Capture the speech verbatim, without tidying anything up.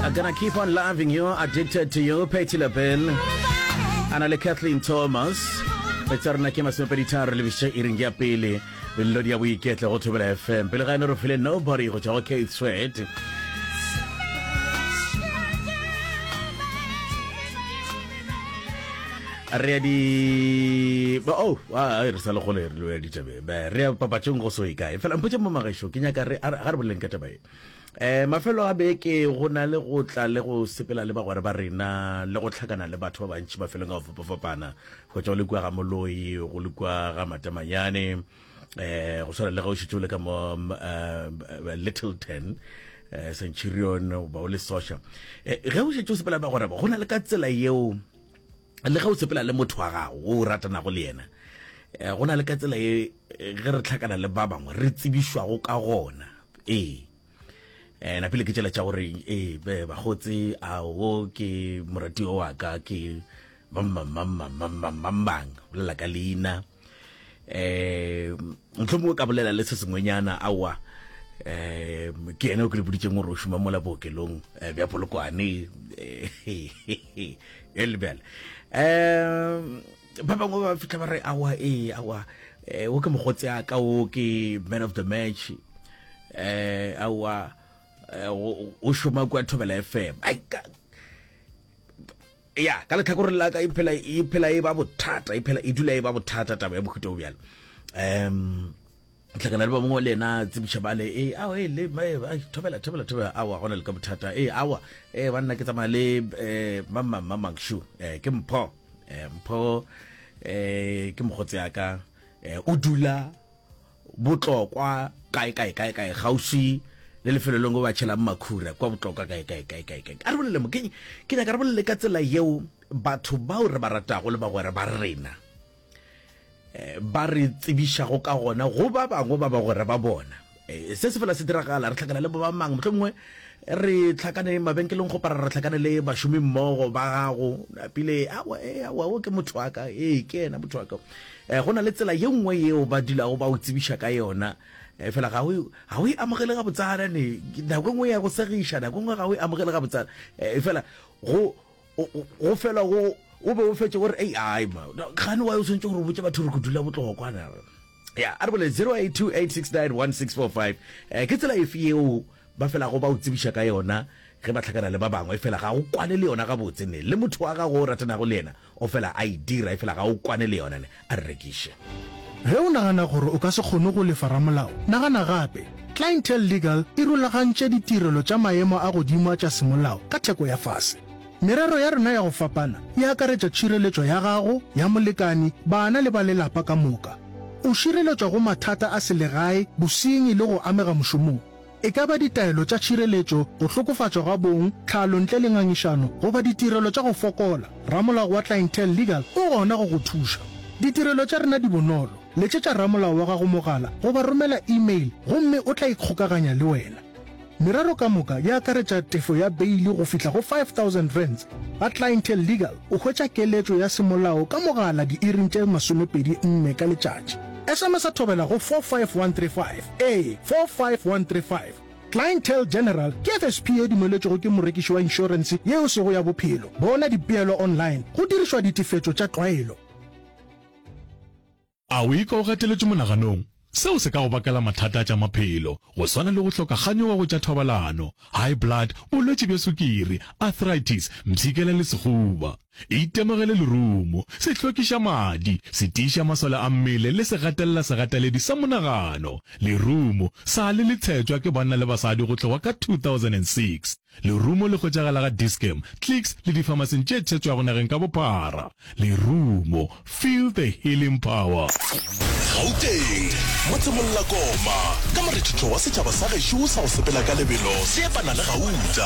I'm gonna keep on loving you, addicted to you, Patti LaBelle. Ana le Kathleen Thomas. Tsa rena ke masomepedi tharo le biša iring ya pele melodi ya boiketlo go Thobela FM. Pele ga ene re file Nobody go tšwa go Keith Sweat. Re ya di oh a re sa le gole re lo ya ditabeng. Re ya papatšong go so e kae. Fela mpotše mo magešo ke nyaka re ga re boleleng ka taba e. Um mafelo a beke go na le go tla le go sepela le bagwera ba rena le go hlakana le batho ba bantši mafelong a go fapafapana, go tšwa go le kua ga Moloi, go le kua ga Matamanyane, um go swana le ge o šetše o le ka mo um Littleton, um Centurion goba o le Sosha. Ge o šetše o sepela le bagwera ba, go na le ka tsela yeo le ge o sepela le motho wa gago o ratanago le yena, go na le ka tsela ye ge re hlakana le ba bangwe re tsebišwago ka gona. Ee. Eh, napile ke tšela tša gore ee be bakgotse a wo ke moratiwa wa ka ke mamamamamamamamang bolela ka leina eh mohlomongwe ka bolela le se sengwenyana aowa eh ke yena o ke le boditseng gore o šoma mola bookelong eh, bja Polokwane eh le bjale um ba bangwe ba fihla ba re aowa ee aowa eh, wo ke mogotse a ka wo ke man of the match eh aowa eh, o šoma kua Thobela F M. Ai ka ya ka letlhakoreng la ka e phela e phela e ba bothata e phela e dula e ba bothata taba ya mohuta o bjalo. Um tlhakana le ba mongwe le yena tsebiša bale e aowa e le ai thobela thobela thobela aowa gona le ka bothata e aowa e banna ke tsamaya le eh mamang mamang shu eh ke mpho eh mpho eh ke mogotse ya ka eh o dula Botlokwa kae kae kae kae kgauswi le lefelo lengwe ba tšhelang makhura kwa Botlokwa kae kae kae kae kae. A re bolele mo ke ke nyaka re bolele ka tsela yeo batho bao re ba ratago le bagwera ba rena eh, ba re tsebišago ka gona go ba bangwe ba bagwera ba bona. Eh, se se fela se diragala re hlakana le ba mang mohlomongwe re hlakane mabenkeleng go para re hlakane le bašomi mmogo ba gago pele awa e awa o ke motho wa ka ee ke yena motho wa ka eh, go na le tsela ye nngwe yeo ba dulago ba o tsebiša ka yona eh, fela ga o ga o e amogele gabotsana ne nako e nngwe ya go segiša nako e nngwe ga o e amogele gabotsana eh, fela go go fela go o be o fetše gore ei ai ma gane wa o swantse gore o botse batho gore ke dula botlokwana ya a re bole zero eight two eight six nine one six four five eh, ke tsela efe yeo ba felago ba o tsebiša ka yona ge ba hlakana le ba bangwe fela ga o kwane le yona gabotse ne le motho wa gago o ratanago le yena o fela a e dira efela ga o kwane le yona ne a re rekiše. Ge o nagana gore o ka se kgone go lefa ramolao, nagana gape. Clientele Legal e rulagantše ditirelo tša maemo a godimo a tša semolao ka theko ya fase. Merero ya rena ya go fapana e akaretša tšhireletšo ya gago, ya molekani, bana le ba lelapa ka moka. O šireletšwa go mathata a selegae, bosenyi le go amega mošomong. E ka ba ditaelo tša tšhireletšo, go hlokofatšwa ga bong, tlhalo ntle le ngangišano, goba ditirelo tša go fokola, ramolao wa Clientele Legal o gona go go thuša. Ditirelo tša rena di bonolo. Letšetša ramolao wa gago mogala goba romela e-mail gomme o tla ikgokaganya le wena. Merero ka moka e akaretša tefo ya beili go fihla go five thousand rands. Ga Clientele Legal o hwetša keletšo ya semolao ka mogala diiring tše masomepedi nne ka letšatši. S M S a thobela go four five one three five, ee, four five one three five. Clientele General ke F S P ye dumeletšwego ke morekiši wa inšorense ye e sego ya bophelo. Bona dipeelo online go dirišwa ditefetšo tša tlwaelo. A o ikwa o gateletšwe monaganong? Seo se ka go bakela mathata a tša maphelo, go swana le go hloka kganyogo go tša thobalano, high blood, bolwetši bja sukiri, arthritis, mpshikela le sehuba. Itemogele lerumo, se hlwekiša madi, se tiiša masole a mmele le se gatelela segateledi sa monagano. Lerumo sa le le tshetšwa ke banna le basadi go tloga ka two thousand and six Lerumo le hwetšagala ga Dis-Chem, Clicks le difamasing tše tšhetšwago nageng ka bophara. Lerumo, feel the healing power. Gauteng, Motsemollakoma, ka morethetho wa setšhaba sa gešo sa go sepela ka lebelo se epana le gauta.